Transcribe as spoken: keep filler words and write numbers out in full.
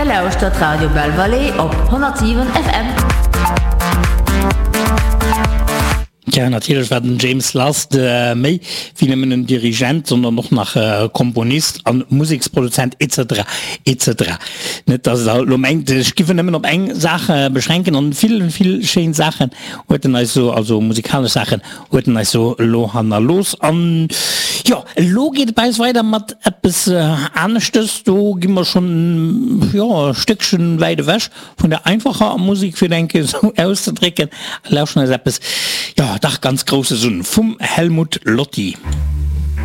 Der lauschtert Radio Belle Vallée op honnertsiwen F M. Tja, natierlech war den James Last méi wéi nëmmen en Dirigent, sondern och nach Komponist an Museksproduzent et cetera et cetera. Net dass der elo mengt, ech giff en nëmmen op eng Saach beschränken, an vill, vill schéin Saachen huet en eis so, also musikalesch Saachen huet en eis so elo hannerlooss. An jo, elo geet et bei eis weider mat eppes aneschtes, do gi mer schonn, jo, e Stéckchen wäit ewech vun der einfacher Musik, fir et eng Kéier esou auszedrécken, a lauschteren eis eppes, jo, dach ganz Grousses un, vum Helmut Lotti.